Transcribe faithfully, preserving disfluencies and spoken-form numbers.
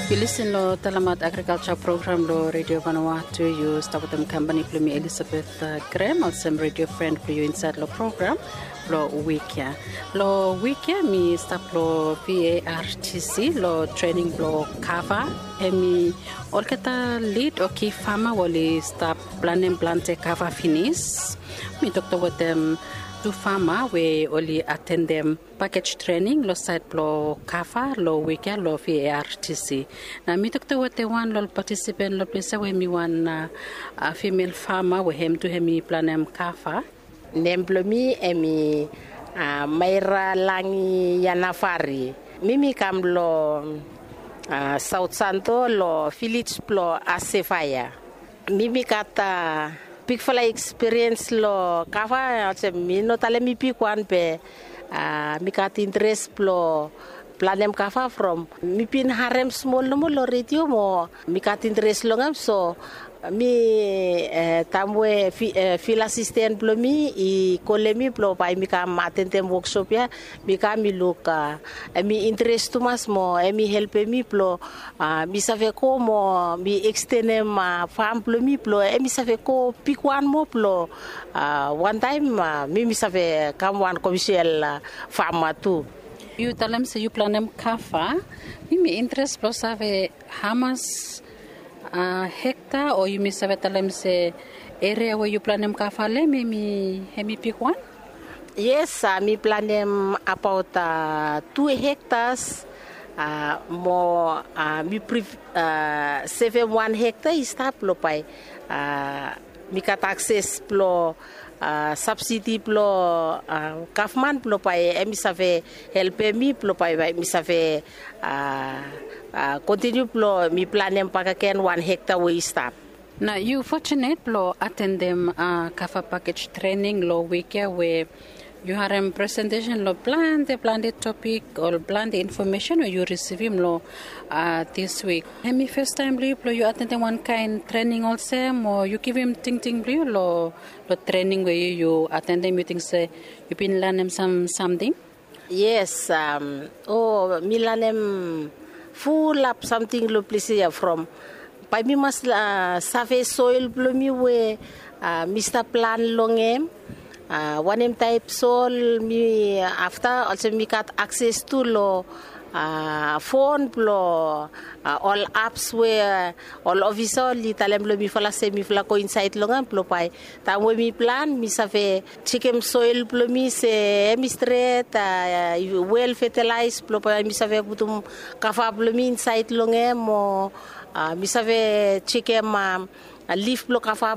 Yu lisin long Talamat Agrikalsa program long Redio Vanuatu. Yu stap wetem kampani blong mi, Elisabeth, uh, Grem, olsem redio fren blong yu insaed long program blong wik ya. Long wik ya mi stap long V A R T C long trening blong kava. Hemi olgeta lid o ki fama we oli stap planem plante kava finis. Mi toktok wetem tu fama we oli atendem pakej trening long saed blong kava long wik ya long V A R T C. Na mi toktok wetem wan long ol patisipen long ples ya we hemi wan, uh, uh, fimel fama we hem tu hemi planem kava. Nem blong mi hemi, uh, Maira Langi Yanavari. Mi mi kam long, uh, Saot Santo long vilej blong Asevaya. Mi mi gat, uh, bigfala ekspiriens long kava, olsem mi no talem mi bigwan be, uh, mi gat interes blong planem kava from mi bin harem smol nomo long redio mo mi gat interes long hem. So mi, uh, taem we fi-, uh, fil asisten blong mi i kolem mi blong bae mi kam atendem woksop ya, mi kam mi luk, uh, hemi interes tumas mo hemi helpem mi blong, uh, mi save go mo mi ekstenem, uh, fam blong mi blong hemi save go bigwan moa blong, uh, wantaem, uh, mi mi save kam wan komesial, uh, fama tu. Yu talem se yu planem kava. Mi mi interes blong save hamas, uh, hekta o yumi save talem se eria we yu planem kava long hem hemi, hemi bigwan? Yes, uh, mi planem abaot, uh, tu hektas, uh, mo, uh, mi pri-, uh, sevem wan hekta i stap blong bae, uh, mi gat akses blong, uh, sabsidi blong, uh, gavman blong bae hemi save helpem mi blong bae, bae mi save, uh, uh, kontiniu blong mi planem bakegen wan hekta we i stap. Na yu fotunet blong atendem, uh, kava pakej trening long wik ya we yu harem presentesen long plante plante topik o plante infomesen we yu risivim long, uh, dis wik. Hemi fastaem blong yu blong yu atendem wan kaen trening olsem o yu givim tingting blong yu long, long trening we yu, yu atendem, yu ting se yu bin lanem sam, samting? Yes, um, o mi lanem fulap samting long ples ya from bae mi mas, uh, save soel blong mi we, uh, mi stap plan long hem. Uh, wanem taep soel mi afta, olsem mi gat akses tu long, uh, fon blong, uh, ol aps we, uh, ol ofisa oli talem long mifala se mifala go insaed long hem blong bae taem we mi plan mi save jekem soel blong mi se hemi stret, uh, wel fetalaes blong bae mi save putum kava blong mi insaed long hem o, uh, mi save jekem, um, uh, lif blong kava